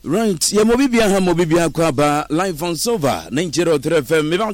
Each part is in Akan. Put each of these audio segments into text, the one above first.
Right, yɛ mo bibia ha mo bibia kɔ aba live on Silver 90.3 FM. Me ba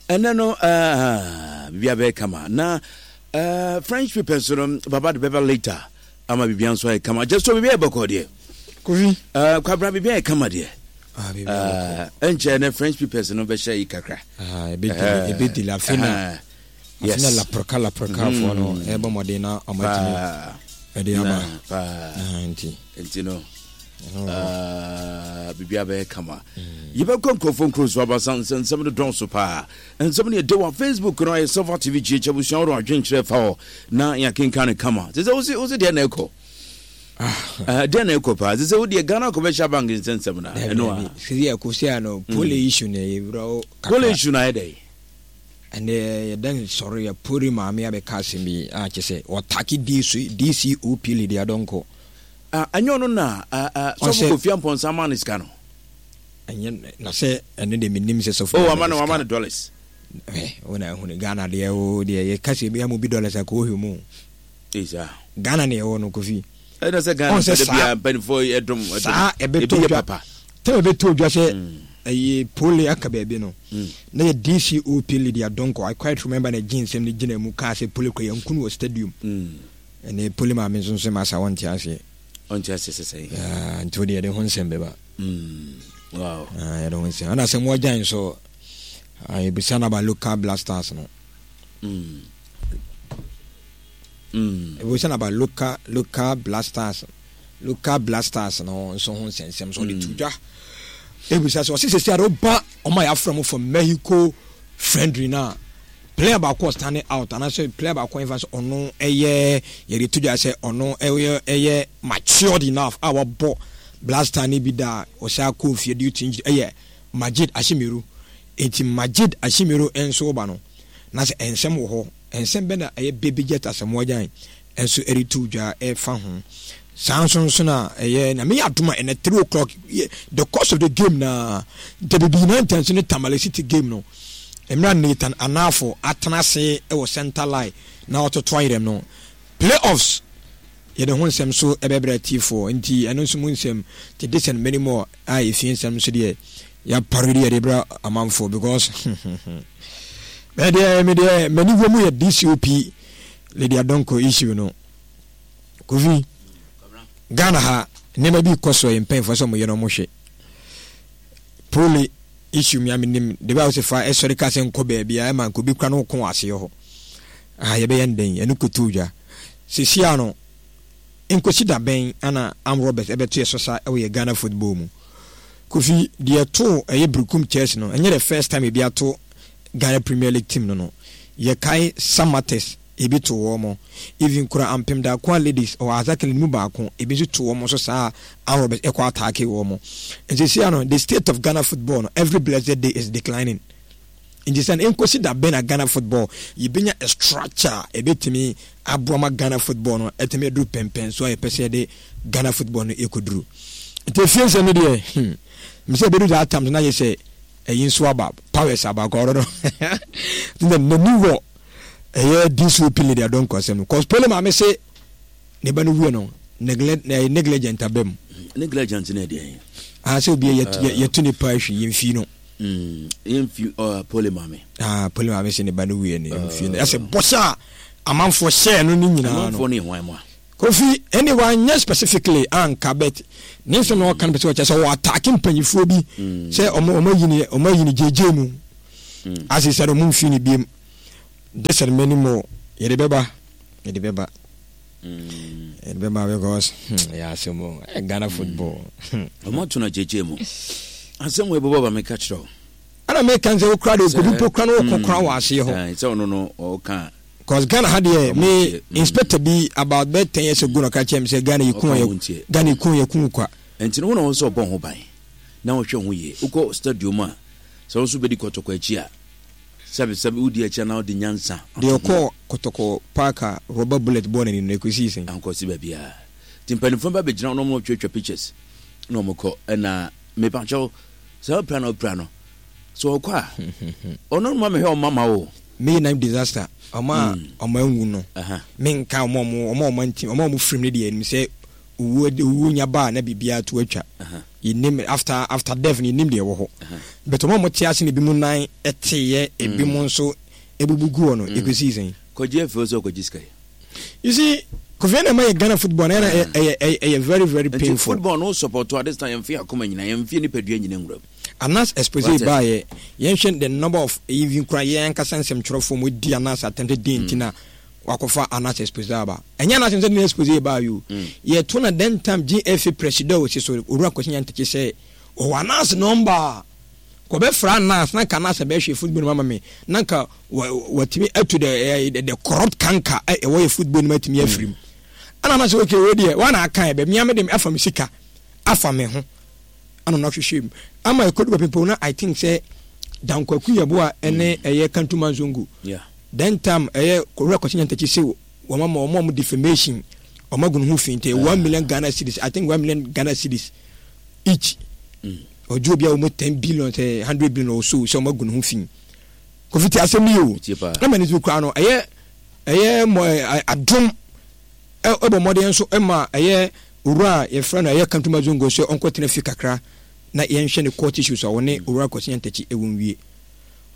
ɛnɛ no uh, bibia bɛyɛ kama na uh, French papers no baba de bɛba later ama bibia nso ayɛ kama. Just so bibia yɛ bɔkɔ deɛ. Kofi. Uh, kwabra bibia yɛ kama deɛ. Ah, bibia bɔkɔ. Ɛnkyɛ ne French papers no bɛhyɛ yi kakra. Ah, ebedili ebedili afei na. Yes. Afei na laprka laprka foɔ no ɛbɔ mmɔden na ɔmo atumi ɛde aba. Paa. Nti. Nti no. Biribiara bɛyɛ kama. Yɛbɛkɔ nkurɔfoɔ nkuro so aba nsɛm no dɔɔso paa. Nsɛm no yɛde wɔ Facebook no ayɛ Silver TV GH abusua wɔde adwenkyerɛ fa hɔ na yɛakenkan no kama. Te sɛ wosi wosi deɛ na ɛkɔ. Deɛ na ɛkɔ paa. Te sɛ wodeɛ Ghana Commercial Bank nsɛnsɛm na ɛno a. Sisi ɛkɔ si ano pole issue na ɛwura o kakra. Pole issue na ayɛ dɛ. Ɛnɛ yɛda nsɔre yɛ pori maame abɛka asɛm bi a kyɛ sɛ ɔtake DCOP Lydia Donkor. Ah, ɛnyɛ ɔno na ah, ah, sɔfo Kofi Amponsah maa no sika no? Ɛnyɛ na sɛ ɛno deɛ menim sɛ sɔfo Oh, wama no wama no dollars. Eh, wo na ehunu Ghana deɛ o deɛ yɛka sɛ ebi ama obi dollars a kò ohwɛ mu. Esa. Ghana na ɛwɔ no Kofi. Ɛna sɛ Ghana sɛ bia mpanimfoɔ ɛdom ɛdom. Saa ɛbɛtɔ dwa. Tɛm ɛbɛtɔ dwa sɛ ɛyɛ pole aka baabi no. Na yɛ DCOP Lydia Donkor I quite remember na gye nsɛm no gyina mu kaa sɛ pole kɔ yɛnku no wɔ stadium. Ɛne pole maame nso nso masa wɔnte aseɛ. Ɔnte aseɛ sɛ sɛn? Yeah, nti wode yɛde ho nsɛm bɛba. Wow. Ah, yɛde ho nsɛm. Ɛna sɛ moagyan nso, ah, yɛbisa no about local blasters no. Yɛbisa no about local, local blasters, local blasters no nso ho nsɛnsɛm so ɔde to dwa. Ebisa sɛ ɔse sɛsi ade woba ɔma yɛafrɛ mo from Mexico friendly no a player baako ɔstanding out anaasɛ player baako ɛmfa sɛ ɔno ɛyɛ yɛde to dwa sɛ ɔno ɛyɛ ɛyɛ matured enough a wabɔ blaster no bi da a ɔsan akɔ fie due to injury ɛyɛ Majid Ashimeru. Enti Majid Ashimeru nso ba no na sɛ nsɛm wɔ hɔ nsɛm bɛ na ɛyɛ Baby Jet Asamoah Gyan nso reto dwa ɛfa ho. Saa nso nso na ɛyɛ na meyɛ adom a ɛnɛ 3 o'clock the course of the game na WB United nso ne Tamale City game no mmerɛ a Nathan Anafo atena ase wɔ center line na ɔtoto ayerɛm no playoffs yɛde ho nsɛm so ɛbɛbrɛ atiefoɔ nti ɛno nso mu nsɛm te this and many more a ɛfie nsɛm nso deɛ yɛapare de yɛde brɛ amanfoɔ because medeɛ medeɛ m'ani wɔ mu yɛ DCOP Lydia Donkor issue no Kofi Ghana ha nneɛma bi kɔ so yɛ mpanyinfoɔ sɛ wɔyɛ no wɔhwɛ pole issue mi a menim de bɛ a wɔsɛ fa ɛsɔre ka sɛ nkɔ baabi a ɛma nka obi kura no ko wɔ aseɛ hɔ ah yɛbɛyɛ no dɛn ɛno kɔtu dwa sɛsi a no nkosi da bɛn ana Arm Roberts ɛbɛto yɛ so sa ɛwɔ yɛ Ghana football mu Kofi deɛ ɛto ɛyɛ Berekum Chelsea no ɛnyɛ the first time ebi ato Ghana Premier League team no no yɛkae Samatex ebi too wɔn, even kura ampem Darkoa ladies ɔwɔ Azakele no mu baako, ebi nso too wɔn nso saa a armed robbers ɛkɔ ataake wɔn. Nti sesia no, the state of Ghana football no, every blessed day is declining. Nti sɛ no, nkosi da bɛn na Ghana football yɛbɛnya a structure a ɛbɛtumi aboa ma Ghana football no ɛtumi aduru pɛmpɛnso a yɛpɛ sɛ yɛde Ghana football no ɛkɔduru. Nti efie nsɛm no deɛ, hmm, mesɛ ɛbɛdu that time no na yɛ sɛ ɛyi nso aba, powers aba, kɔrɔ no, na n'ani wɔ ɛyɛ DCOP lady adɔnkɔ asɛm no cause pole maame se ne ba no wuo no neglect ɛyɛ negligent aba mu. Negligent ne deɛ. Ah sɛ obi yɛ yɛto nipa ahwi yɛn fi no. Mm, yɛn fi uh, pole maame. Ah pole maame se ne ba no wuo no yɛn fi no ɛsɛ bɔhyɛ a amanfoɔ hyɛɛ no ne nyinaa no. Amanfoɔ ne hwan mu a. Kofi ɛne wanyɛ specifically anka but ne nsɛm na ɔka no pɛ sɛ ɔkyɛ sɛ ɔwɔ ataake mpanyinfoɔ bi sɛ ɔmo ɔmo ayi ne ɔmo ayi ne gyegye mu ase sɛ ɔmo nfi ne biem. This and many more yɛde bɛba yɛde bɛba yɛde bɛba because hmm, yɛ asɛm o eh, Ghana football. Ɔmo ato no agyegye mu asɛm wɔ ɛbɛbɔ ba meka kyerɛ wo. Ɛna meka sɛ wokura de obi mpo kura no wokɔ kora wɔ aseɛ hɔ. Sɛ ɔno no ɔka. Cause Ghana ha deɛ me inspector bi about bɛ 10 years ago na ɔka kyerɛ me sɛ Ghana yɛ kun yɛ Ghana yɛ kun yɛ kun kwa. Nti no wo na wɔn sɛ ɔbɔ ho ban na wɔhwɛ ho yie wokɔ stadium a sɛ wo nso bɛdi kɔtɔkɔ akyi a. Sɛbi sɛbi wodi akyi anaa wode nyansa ato Deɛ ho. ɔkɔɔ kɔtɔkɔ park a rubber bullet bɔɔ n'ani no, ɛkɔsii sɛn? Ankɔsi baabiara. Nti mpanimfoɔ ba bɛgyina hɔ na wɔn twatwa pictures na wɔn kɔ. Ɛna mepakyɛw sɛ ɔpira na ɔpira no sɛ ɔkɔ a ɔno ma mehwɛ ɔma ma o. May 9 disaster ɔma a ɔma anwu no menka ɔma ɔmo ɔma ɔma nti ɔma ɔmo firim no deɛ nim sɛ owuo owuo nya ba a na biribiara to atwa. Yɛnnim after after death no yɛnnim deɛ ɛwɔ hɔ. But wɔn a wɔte ase no ebinom nan teeɛ, ebinom nso ebubu gu hɔ no, ɛkɔsii sɛn? Kɔgye afiri hɔ sɛ ɔkɔgye sika yi. You see, Kofi ɛna ɛma yɛ Ghana football no ɛna ɛyɛ ɛyɛ ɛyɛ very very painful. Nti football no support at this time yɛnfi akoma nyina yɛnfi nipadua nyina nwura mu. Anas expose baayɛ yɛnhwɛ the number of even kura yɛn ankasa nsɛmtwerɛfoɔ mu di Anas atɛm sɛ den nti na wakɔfa Anas expose aba. Ɛnyɛ Anas nsɛ ne expose baayɛ o. Yɛto na then time GFA presido wɔ si so Owura Kwasi Nyantakyi sɛ ɔwɔ Anas number a kɔbɛfra Anas na nka Anas bɛhwɛ football no ama me na nka watumi atu the the, the corrupt canker a ɛwɔ yɛ football no mu atumi afiri mu. Ɛna Anas sɛ okay wei deɛ wɔn na aka yɛ bɛ mmea me de afa me sika afa me ho ɛna ɔno ahwehwɛ mu ama ɛkɔdu baabi na I think sɛ Dankwaku Yeboah ɛne ɛyɛ Kantuma Nzongo then time ɛyɛ Owura Kwasi Nyantakyi se wɔn ama wɔn a wɔn defamation wɔn agu ne ho fi nti 1 million Ghana cedis, I think 1 million Ghana cedis each, ɔgye obi a wɔn 10 billion sɛ 100 billion or so sɛ wɔn agu ne ho fi. Kofi ti asɛm yi o, ɛma ne so kura no ɛyɛ mɔ adom ɛbɔ mmɔden nso ɛma ɛyɛ owura a yɛfrɛ no ɛyɛ Kantuma Zongo sɛ ɔnkɔtena fi kakra na yɛnhwɛ ne court issues a ɔne owura Kwasi Nyantakyi ɛwɔ nwie.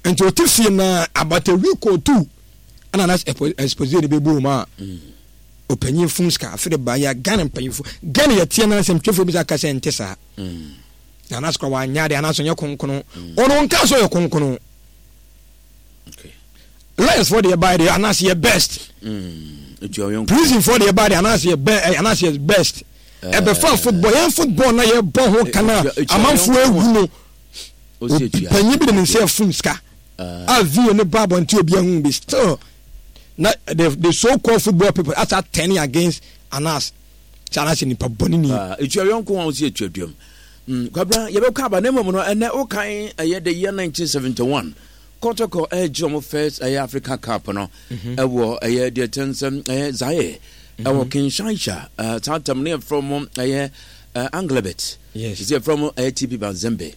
Nti ɔte fie na about a week or two ɛna na expose no bɛbɔ mu a ɔpanyin fom sika afe de ba yɛ Ghana mpanyinfo Ghana yɛteɛ na nsɛm twɛfoɔ bi sɛ aka sɛ nte saa na anaasɛ kora wanyɛ adeɛ anaasɛ ɔnyɛ konkono ɔno nka sɛ ɔyɛ konkono. Lawyers foɔ deɛ baeɛ deɛ anaasɛ yɛ best, prison foɔ deɛ baeɛ deɛ anaasɛ yɛ bɛ anaasɛ yɛ best. Ɛbɛfa football, yɛn football na yɛbɔ ho kana amanfoɔ ehu no, panyin bi de ne nsa ɛfum sika a video ne ba abɔnten obi ahu bi still na the so called football people asa turning against Anas sɛ Anas yɛ nipa bɔne ni. Etua yɔnko a wosi etua duam. Kwabena yɛbɛkɔ aba na mmom no ɛnɛ wokan ɛyɛ the year 1971 Kɔtɔkɔ ɛgye wɔn first ɛyɛ Africa Cup no ɛwɔ ɛyɛ deɛ kyɛn sɛ ɛyɛ Zaire ɛwɔ Kinshasa, saa tam no yɛfrɛ wɔn ɛyɛ Anglebet, sɛ yɛfrɛ wɔn ɛyɛ TP Mazembe.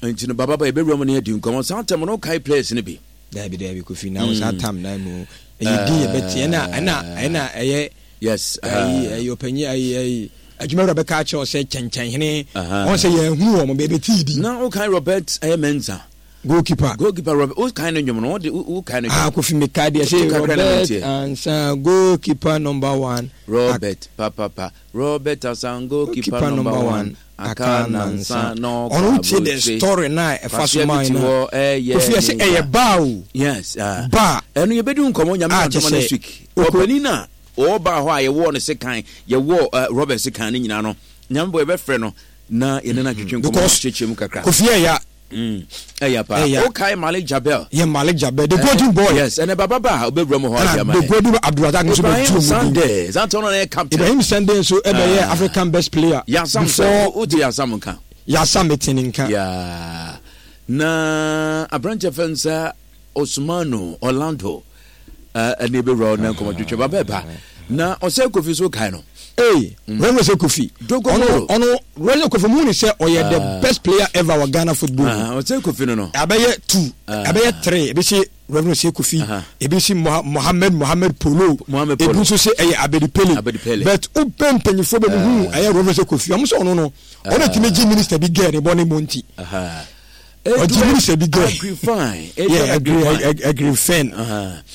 Nti no baba ba yɛbɛwura mu no yɛdi nkɔmmɔ saa tam no wokae players no bi? Daabi daabi Kofi, na wo saa tam na mu ɛyɛ din yɛbɛte ɛna ɛna ɛna ɛyɛ yes ayi ɛyɛ ɔpanyin ayi ayi adwumawura bɛka akyerɛ wo sɛ kyɛnkyɛnhene wɔn sɛ yɛn hunu wɔn bɛbɛti di. Na wokae Robert ɛyɛ Mensah? Goalkeeper. Goalkeeper Robert, wokae no nnwom no wode wokae no nnwom? Ah, Kofi mekae deɛ sɛ Robert Ansah goalkeeper number one. Robert papapa Robert Ansah goalkeeper number one aka nansa na ɔkɔ ɔno wotie the story na ɛfa so maa no Kofi ɛsɛ ɛyɛ baa o. Yes, baa ɛno yɛbɛdi nkɔmmɔ Nyame adom next week. Ɔpanin a ɔwɔ baa hɔ a yɛwɔɔ no sekan, yɛwɔɔ Robert sekan no nyinaa no, Nyame bɔ yɛbɛfrɛ no na yɛne no atwetwe nkɔmmɔ akyerɛkyerɛ mu kakra. Kofi ɛya. Ɛya paa. Wokae Malik Jabel? Yɛ Malik Jabel, the golden boy. Yes, ɛnɛ baba ba a ɔbɛwura mu hɔ adi ama yɛ. The golden boy Abdulrazak nso bɛ tu mu. Ibrahim Sande, Zante ɔno na yɛ captain. Ibrahim Sande nso ɛbɛyɛ African best player. Yasam sɛ, wote Yasam nka? Yasam mete ne nka. Yeah. Na aberanteɛ fɛn sɛ Osmanu Orlando ɛne ɛbɛwura hɔ na nkɔmmɔ twetwe ba bɛba na ɔsɛ Kofi so kae no. Ee, Reverend Osei Kofi. Ɔno ɔno Reverend Kofi mu ni sɛ ɔyɛ the best player ever wɔ Ghana football mu. Osei Kofi no no. Abɛyɛ two, abɛyɛ three, ebi si Reverend Osei Kofi, ebi si Mohammed Mohammed Polo, ebi nso sɛ ɛyɛ Abedi Pele. But wopɛ mpanyinfoɔ bɛ mu hu ɛyɛ Reverend Osei Kofi, ɔmo sɛ ɔno no, ɔno tumi gye minister bi gɛɛ ne bɔ ne bɔ nti. Ɔgye minister bi gɛɛ. Agrifine. Yeah, Agrifine.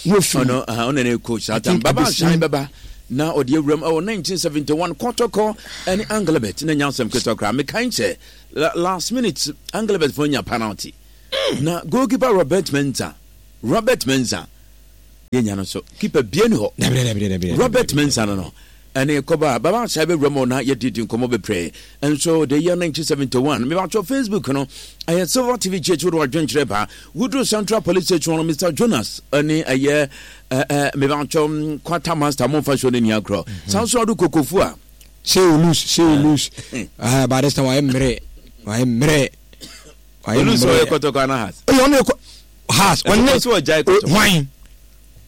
No fi. Ɔno ɔno ne coach saa tam. Baba Asan bɛba na ɔde awuram ɛwɔ 1971 Kɔtɔkɔ ɛne Anglebert na nya asɛm ketewa koraa. Mekan sɛ last minute Anglebert fo nya penalty. Na goalkeeper Robert Mensah, Robert Mensah yɛnya no so keeper bie ni hɔ. Robert Mensah no no Ɛne kɔba a Baba Asae bɛwura mu na yɛdidi nkɔmmɔ bebree nso the year 1971. Mebatwɔ Facebook no ɛyɛ Silver TV GH wode wadwenkyerɛ ba woduru Central Police Station no Mr Jonas ɛne ɛyɛ mebatwɔ Quarter Master momfa show no ni agorɔ saa nso ado kokofu a Say you lose, say you lose. Ah, by this time wayɛ mmerɛ, wayɛ mmerɛ, wayɛ mmerɛ. Olus ɔyɛ kɔtɔkɔ ana has? Ɔyɛ ɔno yɛ has. Ɔne hwan?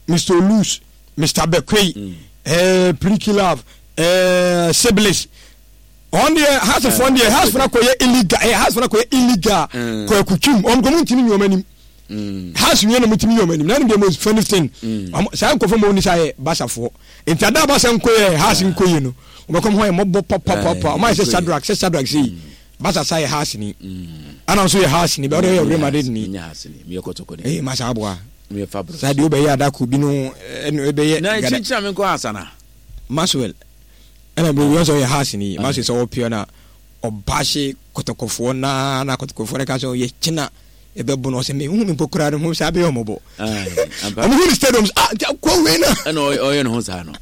Mr Olus. Mister Bekwei, mm. eh, Prikilove, eh, Siblings. On deɛ hasefoɔ deɛ hasefoɔ no akɔyɛ illegal eh, hasefoɔ no akɔyɛ illegal mm. kɔ akutwim wɔn kɔ mu ntumi nyɛ wɔn anim mm. hase wie na mu ntumi nyɛ wɔn anim na ɛno deɛ most funny thing mm. saa nkɔfo mu oni sa yɛ basafoɔ nti ada basa nkɔ yɛ hase nkɔ yɛ no wɔn bɛkɔm hɔ yɛ mɔbɔ papapapa wɔn ayɛ sɛ sadrak sɛ sadrak sɛ yi. Barca sa yɛ Hearts ni. Ana nso yɛ Hearts ni, bɛ ɔde yɛ Real Madrid ni. Nyɛ Hearts ni, meyɛ Kotoko ni. Ee, masa aboa. Meyɛ Fabros. Saa deɛ wobɛyɛ adako bi no ɛno ɛbɛyɛ. Na kyinkyina me nkɔ Hearts ana? Maxwell ɛna bɛ wɔn sɛ ɔyɛ Hearts ni. Maxwell sɛ ɔpɛ na ɔbaahye Kotokofoɔ naa na Kotokofoɔ no ka sɛ ɔyɛ kyina ɛbɛbo no ɔsɛ me hu me mpo koraa no ho saa bɛyɛ ɔmɔbɔ. Ɔmo hu ne stadium ah nti akɔ wei na. Ɛna ɔyɛ ne ho saa no.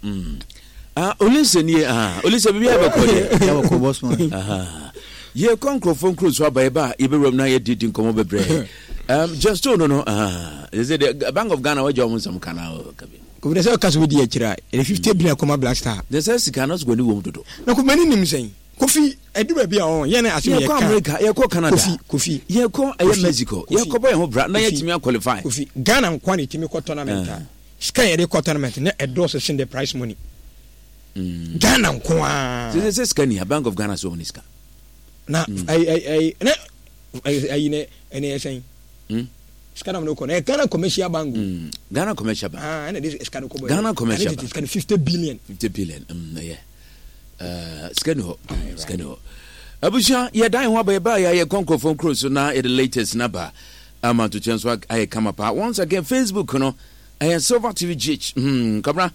Ah, Olise nie, ah, Olise biribi ayɛ bɛkɔ deɛ. Yɛ bɛkɔ boss man. Yɛkɔ nkurɔfoɔ nkuro so aba yɛba a yɛbɛwuram na yɛdidi nkɔmmɔ bebree. Justo no no, ah, sɛ deɛ Bank of Ghana wagya wɔn nsɛm ka na kabi. Kofi na sɛ ɔka sɛ wodi akyire a, ɛde 50 billion kɔma Black Star. Na sɛ sika no so w'ani wɔ mu dodo. Na Kofi m'ani nim sɛn? Kofi, ɛdu baabi a ɔn, yɛn asɛm yɛ ka. Yɛkɔ America, yɛkɔ Canada. Kofi, Kofi. Yɛkɔ ɛyɛ Mexico, yɛkɔbɔ yɛn ho bra na yɛatumi aqualify. Kofi, Ghana nkoa na ɛtumi kɔ tournament a. Sika a yɛde kɔ tournament na ɛdɔɔso sen the prize money. Mm. Ghana nko ara. Sɛ sɛ sika ni ha Bank of Ghana sɛ wɔn ni sika. Na ayi ayi ayi na ayi ne ɛne ɛsɛn. Mm. Sika na wɔn kɔ na Ghana Commercial Bank. Mm. Ghana Commercial Bank. Ah ɛna de sika no kɔ bɔ. Ghana Commercial Bank. Sika no 50 billion. 50 billion. Mm ɛyɛ. Sika ni hɔ. Sika ni hɔ. Abusua yɛ dan ho aba yɛ ba yɛ yɛ kɔ nkurɔfoɔ nkuro so na yɛ de latest na ba ama ntokyɛ nso ayɛ kama paa. Once again Facebook no. Ɛyɛ Silver TV GH. Hmm, Kwabena.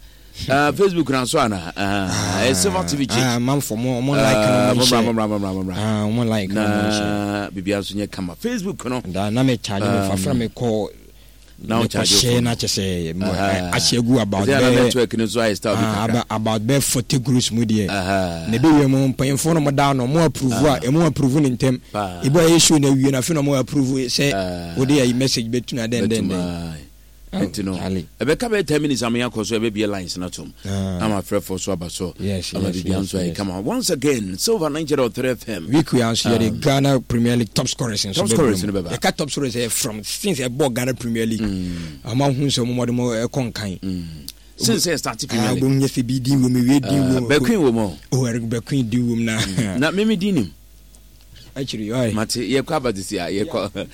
Facebook na so ana? Ɛyɛ Silver TV GH. Ah, manfo mo mo like no mo share. Mo bra mo bra mo bra. Ah, mo like no mo share. Na bibia nso nyɛ kama. Facebook no. Da na me charge me fa fra me kɔ. Na o charge share na kyɛ sɛ ahyɛ gu about bɛ. network no so ayɛ style bi kakra. About bɛ 40 groups mu deɛ. Na ebe wie mo mpanyinfo no mo da no mo approve a emu approve ne ntɛm. Ebi a yɛ show na wie na afei na mo approve sɛ wode ayi message bɛtuna dɛn dɛn dɛn. Nti no ɛbɛka bɛyɛ 10 minutes ama yɛakɔ so ɛbɛbie lines no atom ama afrɛfoɔ so aba so ama biribia nso ayɛ kama. Once again, Silver 90.3 FM. Week wei nso yɛde Ghana Premier League top scorers nso top scorers no bɛba. Yɛka top scorers ɛyɛ from since ɛbɔ Ghana Premier League ama hu sɛ ɔmɔde mo ɛkɔ nkan since ɛ start Premier League. Wobɛhu nyɛ sɛ bi din wom, ewie din wom. Bɛqueen wɔ mu. Oh, Eric Bɛqueen din wom na. Na meme din nim. Akyiri, ɔyɛ. Mate, yɛkɔ aba sisi a yɛkɔ.